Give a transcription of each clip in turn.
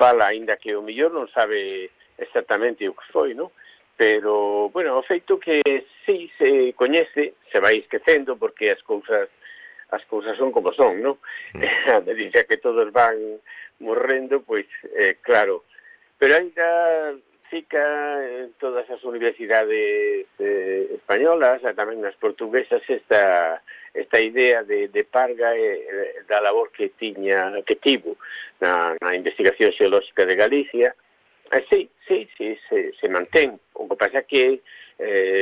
fala, aínda que o mellor non sabe exactamente o que foi, non? Pero, bueno, o feito que sí se coñece, se vai esquecendo, porque as cousas son como son, non? A medida que todos van morrendo, pois, claro. Pero aínda fica en todas as universidades españolas, e tamén nas portuguesas, esta idea de Parga da labor que tivo na investigación xeolóxica de Galicia. Sí, se mantén. O que pasa que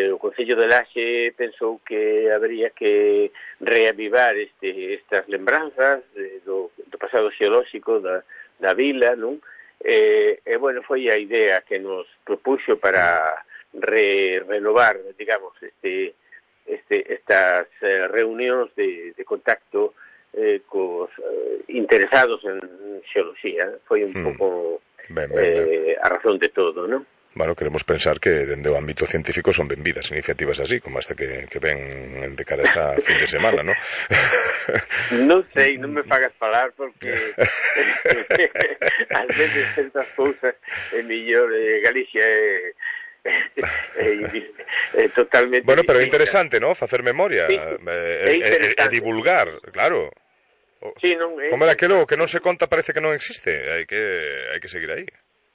o Concello de Laxe pensou que habría que reavivar estas lembranzas do pasado xeolóxico da vila, non? Bueno, foi a idea que nos propuxo para renovar, digamos, estas reunións de contacto cos interesados en xeoloxía. Foi un pouco a razón de todo, non? Bueno, queremos pensar que dende o ámbito científico son benvidas iniciativas así, como esta que ven de cara a esta fin de semana, non? Non sei, non me fagas falar porque ás veces certas cousas é mellor Galicia é totalmente bueno, pero é interesante, ¿no? Facer memoria e divulgar, claro. Sí, non, como era aquilo que non se conta parece que non existe, hai que seguir aí.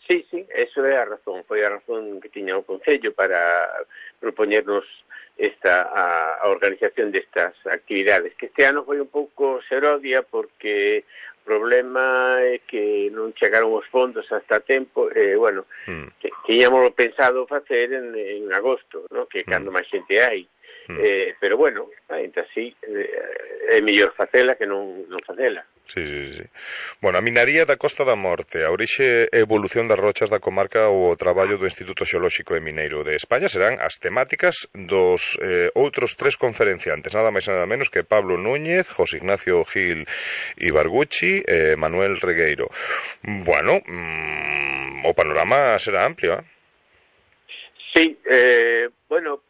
Sí, eso é a razón, foi a razón que tiña o Concello para propoñernos a organización destas actividades, que este ano foi un pouco serodia porque o problema é que non chegaron os fondos hasta tempo, bueno, tiñamos pensado facer en agosto, ¿no? Que cando máis xente hai. Pero bueno, ainda así é mellor facela que non facela. Sí. Bueno, a minaría da Costa da Morte, a orixe e evolución das rochas da comarca ou o traballo do Instituto Xeolóxico e Mineiro de España serán as temáticas dos outros tres conferenciantes, nada máis nada menos que Pablo Núñez, José Ignacio Gil Ibarguchi e Manuel Regueiro. Bueno, o panorama será amplio, ¿eh? Sí, bueno,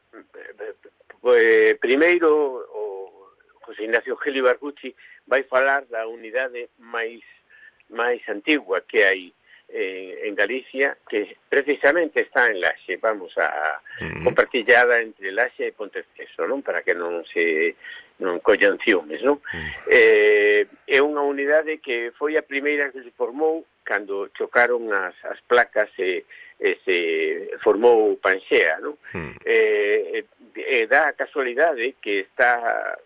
primeiro o José Ignacio Gil Ibarguchi vai falar da unidade máis antigua que hai en Galicia, que precisamente está en Laxe, vamos a compartillada entre Laxe e Ponteceso, non? Para que non collan ciúmes, non? É unha unidade que foi a primeira que se formou cando chocaron as placas e se formou Panxea, non? Dá a casualidade que está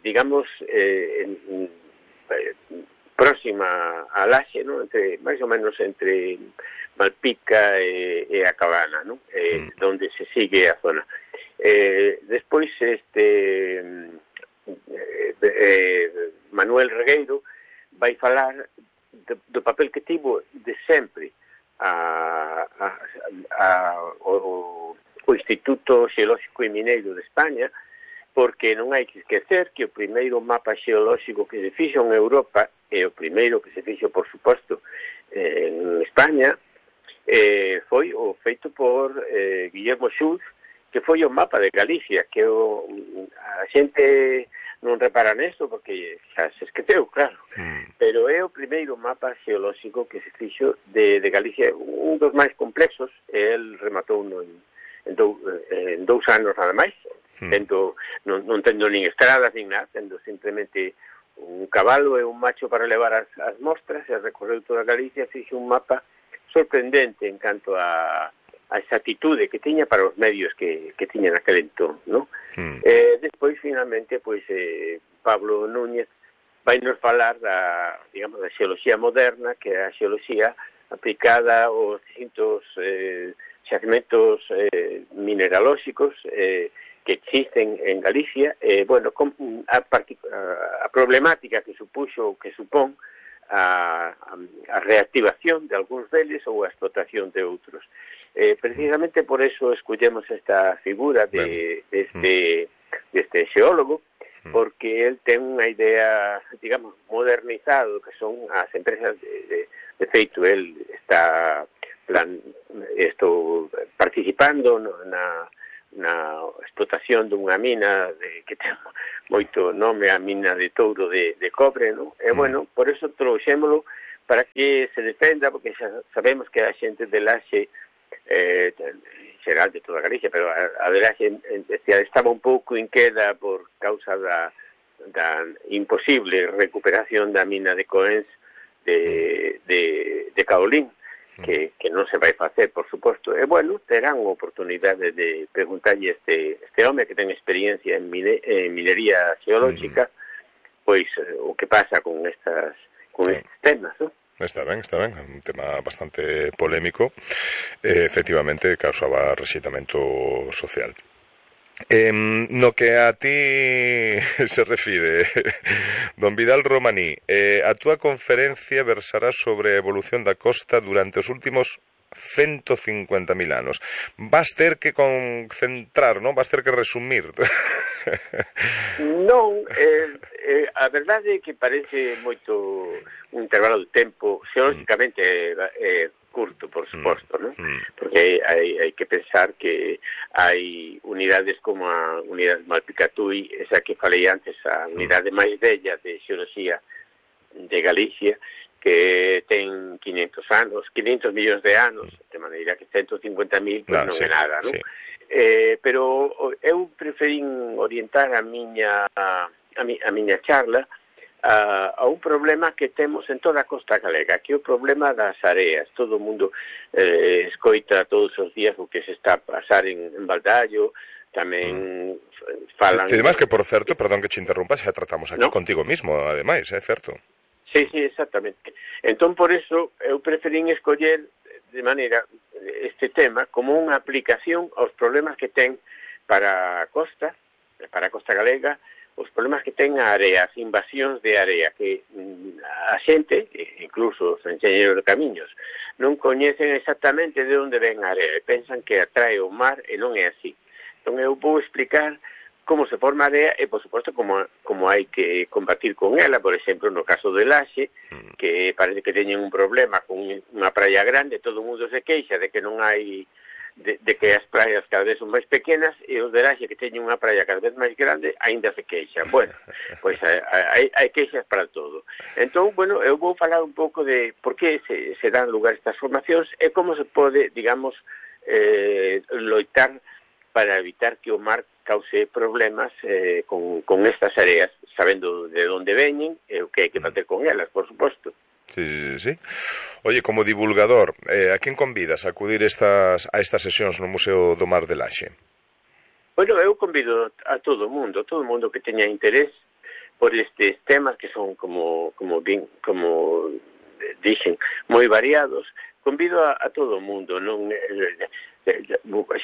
digamos próxima a Laxe, ¿no? Máis ou menos entre Malpica e a Cabana, ¿no? Donde se sigue a zona. Despois Manuel Regueiro vai falar do papel que tivo de sempre o Instituto Xeolóxico e Mineiro de España, porque non hai que esquecer que o primeiro mapa xeolóxico que se fixo en Europa e o primeiro que se fixo, por suposto, en España foi o feito por Guillermo Schultz, que foi o mapa de Galicia, que a xente non repara nesto porque xa se esqueceu, claro, pero é o primeiro mapa xeolóxico que se fixo de Galicia, un dos máis complexos, e el rematou en 2 anos nada máis, non tendo nin estradas nin nada, tendo simplemente un cabalo e un macho para levar as mostras, e recorreu toda Galicia, fixo un mapa sorprendente en canto a esa atitude que tiña para os medios que tiña naquele entón, non? Despois, finalmente, Pablo Núñez vai nos falar da xeoloxía moderna, que é a xeoloxía aplicada aos distintos xacementos mineralóxicos que existen en Galicia, bueno, a problemática que supuxo, que supón a reactivación de algúns deles ou a explotación de outros. Precisamente por eso escollemos esta figura deste xeólogo, porque él ten unha idea, digamos, modernizado, que son as empresas de feito. Él está participando na explotación dunha mina que ten moito nome, a mina de Touro de cobre, non? E, bueno, por eso trouxémolo para que se defenda, porque xa sabemos que a xente de Laxe, en xeral de toda Galicia, pero a de Laxe estaba un pouco inqueda por causa da imposible recuperación da mina de Coens de Caolín, que non se vai facer, por suposto. E, bueno, terán oportunidade de preguntarlle este home que ten experiencia en minería xeolóxica, pois o que pasa con estes temas, non? Está ben, é un tema bastante polémico, efectivamente causaba rexeitamento social. No que a ti se refire, don Vidal Romaní, a túa conferencia versará sobre a evolución da costa durante os últimos 150.000 anos. Vas ter que concentrar, non? Vas ter que resumir. Non, a verdade é que parece moito un intervalo de tempo xeolóxicamente curto, por suposto, non? Porque hai que pensar que hai unidades como a unidade Malpicatui, esa que falei antes, a unidade máis bella de xeoloxía de Galicia, que ten 500 anos, 500 millóns de anos, de maneira que 150.000 pues non é nada, non? Sí. Pero eu preferín orientar a miña charla a un problema que temos en toda a costa galega, que é o problema das areas. Todo o mundo escoita todos os días o que se está a pasar en Baldallo, tamén falan... E además que, por certo, perdón que te interrumpa, xa tratamos aquí contigo mismo, ademais, é certo? Sí, exactamente. Entón, por eso, eu preferín escoller de maneira este tema como unha aplicación aos problemas que ten para a costa galega, os problemas que ten a area, as invasións de area, que a xente, incluso os enxeñeros de camiños, non coñecen exactamente de onde ven a area, e pensan que atrae o mar, e non é así. Entón, eu vou explicar como se forma a area e, por suposto, como hai que combatir con ela. Por exemplo, no caso de Laxe, que parece que teñen un problema con unha praia grande, todo o mundo se queixa de que non hai, de que as praias cada vez son máis pequenas, e os de Laxe, que teñen unha praia cada vez máis grande, aínda se queixan. Bueno, pois hai queixas para todo. Entón, bueno, eu vou falar un pouco de por que se dan lugar estas formacións e como se pode, digamos, loitar para evitar que o mar cause problemas con estas areas, sabendo de onde veñen e o que hai que facer con elas, por suposto. Sí. Oye, como divulgador, a quen convidas a acudir a estas sesións no Museo do Mar de Laxe? Bueno, eu convido a todo o mundo que teña interés por estes temas que son como dixen, moi variados. Convido a todo o mundo, non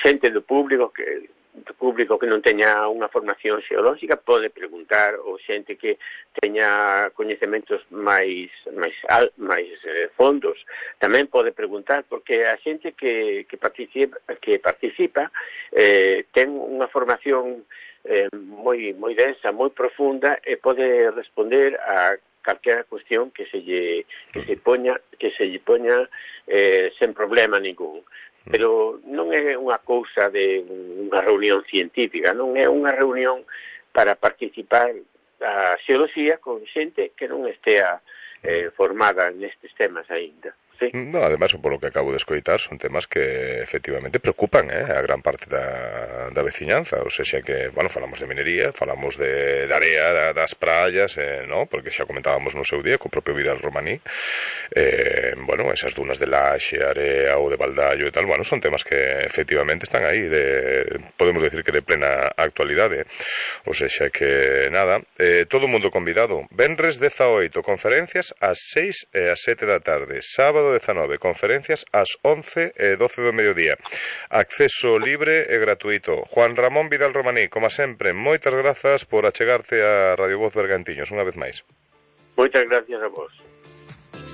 xente do público que non teña unha formación xeolóxica pode preguntar, ou xente que teña coñecementos máis fondos tamén pode preguntar, porque a xente que participa ten unha formación moi densa, moi profunda, e pode responder a calquera cuestión que se lle poña sen problema ningún. Pero non é unha cousa de unha reunión científica, non é unha reunión para participar a xeoloxía con xente que non estea formada nestes temas aínda. Sí. No, además, polo que acabo de escoitar, son temas que efectivamente preocupan a gran parte da veciñanza, ou seja que, bueno, falamos de minería, falamos de area, das praias, no? Porque xa comentábamos no seu día co propio Vidal Romaní, bueno, esas dunas de Laxe, area ou de Baldallo e tal, bueno, son temas que efectivamente están aí, podemos decir que de plena actualidade, ou seja que, nada, todo o mundo convidado. Venres 18, conferencias ás 6 e ás 7 da tarde, sábado 19, conferencias ás 11 e 12 do mediodía. Acceso libre e gratuito. Juan Ramón Vidal Romaní, como sempre, moitas grazas por achegarte a Radio Voz Bergantiños unha vez máis. Moitas gracias a vos.